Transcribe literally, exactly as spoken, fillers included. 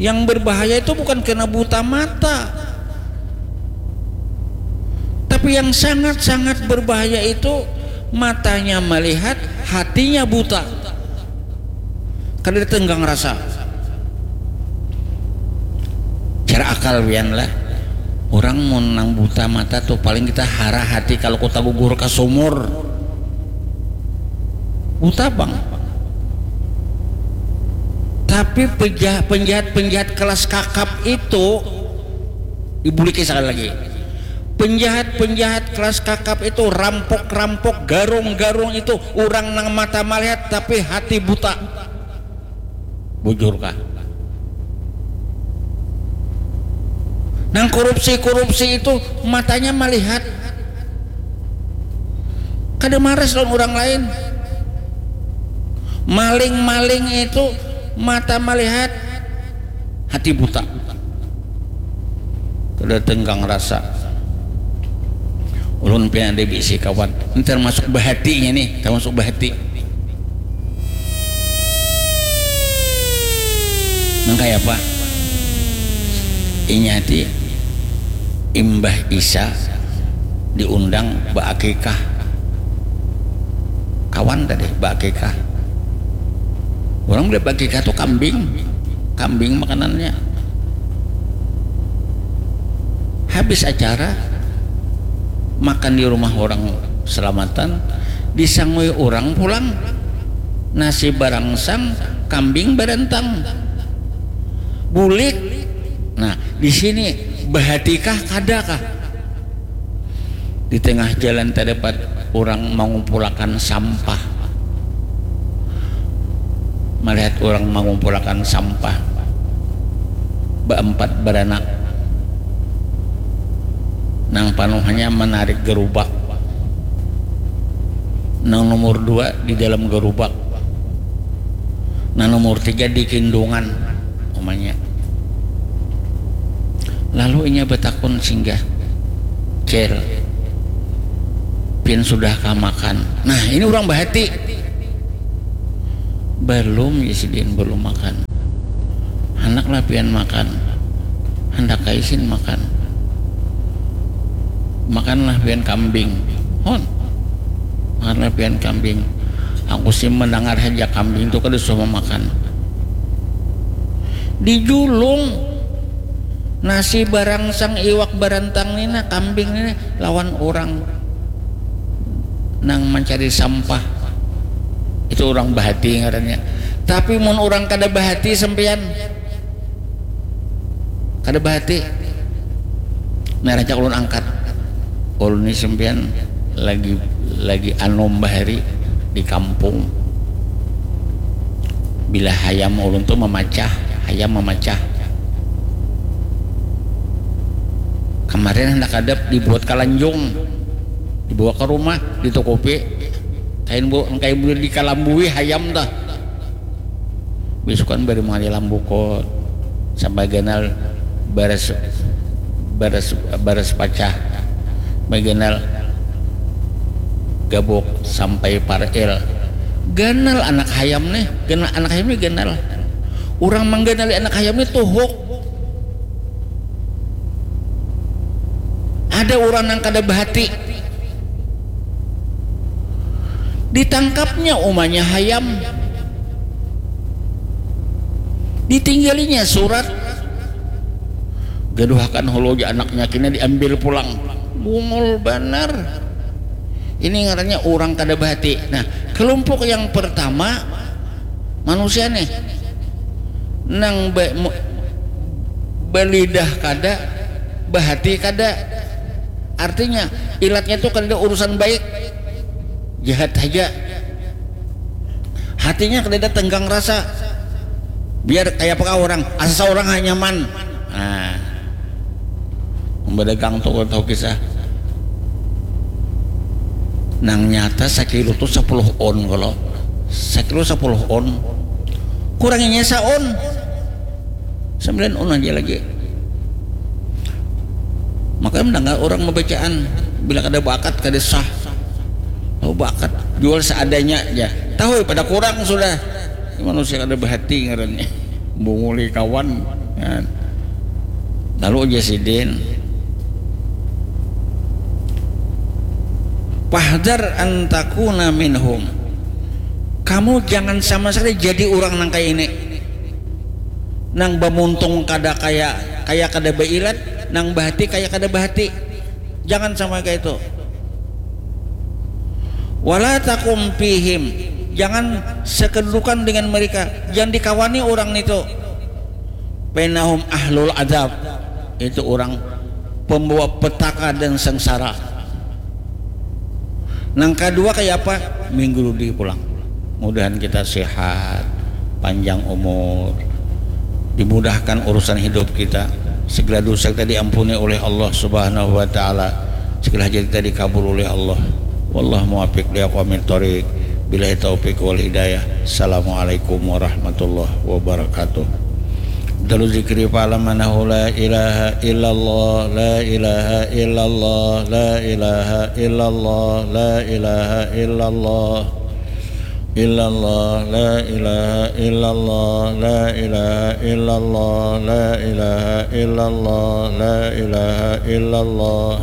Yang berbahaya itu bukan karena buta mata, tapi yang sangat-sangat berbahaya itu matanya melihat, hatinya buta. Kada tenggang rasa. Cara akal wian lah. Orang mun nang buta mata tuh paling kita hara hati kalau kita gugur ke sumur. Buta bang. Tapi penjahat-penjahat kelas kakap itu, dibuliki sekali lagi. Penjahat-penjahat kelas kakap itu, rampok-rampok, garung-garung itu, orang nang mata melihat tapi hati buta. Bujur kah? Nang korupsi-korupsi itu matanya melihat, kada maras lawan orang lain. Maling-maling itu mata melihat, hati buta. Kada tenggang rasa. Ulun pian ada bisi kawan. Ini termasuk bahatinya nih, termasuk bahati. Nang kaya apa? Inya ti imbah isa diundang baakikah. Kawan tadi baakikah. Orang bila baakikah tuh kambing. Kambing makanannya. Habis acara, makan di rumah orang selamatan, disangui orang pulang. Nasi barangsang, kambing barantang. Bulik. Nah, di sini bahatikah kadakah? Di tengah jalan terdapat orang mengumpulakan sampah. Melihat orang mengumpulakan sampah, baempat beranak, nang panuhnya menarik gerubak, nang nomor dua di dalam gerubak, nang nomor tiga di kindungan, umanya. Lalu inya batakun singgah, "Cel, pian sudah kah makan?" Nah, ini orang bahati. "Balum," ya sidin, "balum makan." "Handaklah pian makan." "Handak ai sin makan." "Makanlah pian kambing." "Hon, makanlah pian kambing." Aku sih mendengar saja kambing itu kada suah memakan. Dijulung nasi barangsang, iwak barantang ni nah, kambing ni nah, lawan orang nang mencari sampah. Itu orang bahati ngarannya. Tapi mun orang kada bahati sampean, kada bahati. Nah, rancak ulun angkat. Ulun ni sampean lagi, lagi anom bahari di kampung. Bila hayam ulun tu mamacah, hayam mamacah. Kamarin handak hadap dibuat kalanjung, dibawa ka rumah, ditukupi. Kain bu, kain bu dikalambui hayam tah. Bisukan bari mangalih lambu ko sampai ganal baras, baras, baras pacah, sampai ganal gabuk sampai paril. Ganal anak hayam nih, ganal anak hayam nih ganal. Urang mangganali anak hayam nih tuhuk. Ada urang nang kada bahati. Ditangkapnya umanya hayam. Ditinggalinya surat. Gaduhakan hulu ja anaknya, kena diambil pulang. Bungul banar. Ini ngarannya urang kada bahati. Nah, kelompok yang pertama manusia nih nang ba-, mu-, balidah kada, bahati kada. Artinya, ilatnya tuh kada ada urusan baik, jahat haja. Hatinya kada ada tenggang rasa. Biar kaya apa kah orang, asa saurang ha nyaman. Nah, membadagang tuh kada tahu kisah. Nang nyata sakilo tuh sapuluh on kalau. Sakilo sapuluh on. Kuranginya saon. Sambilan on aja lagi. Makanya mendengar orang membacaan, bila kada bakat kada sah. Oh, bakat, jual seadanya aja. Tahu pada kurang sudah. manusia kada bahati ngarannya. Bunguli kawan. Nah, lalu aja sidin, "Fahdar antakuna minhum." Kamu jangan sama sekali jadi orang nang kayak ini. Nang bamuntung kada kaya, kaya kada bailat, nang bahati kaya kada bahati. Jangan sama kayak itu. "Wala takum fihim." Jangan sekedudukan dengan mereka. Jangan dikawani orang itu. "Fainahum ahlul adab." Itu orang pembawa petaka dan sengsara. Nang kedua kayak apa? Minggu ludi pulang. Mudahan kita sehat, panjang umur, dimudahkan urusan hidup kita, segala dosa kita diampuni oleh Allah Subhanahu wa Ta'ala, segala hajat kita dikabul oleh Allah. Wallahu muwaffiq li aqwamit thoriq. Billahi taufiq wal hidayah. Assalamualaikum warahmatullahi wabarakatuh. Dalu zikri fa'lam annahu la ilaha illallah, la ilaha illallah, la ilaha illallah, la ilaha illallah. Illallah, la ilaha illallah, la ilaha illallah, la ilaha illallah, la ilaha illallah.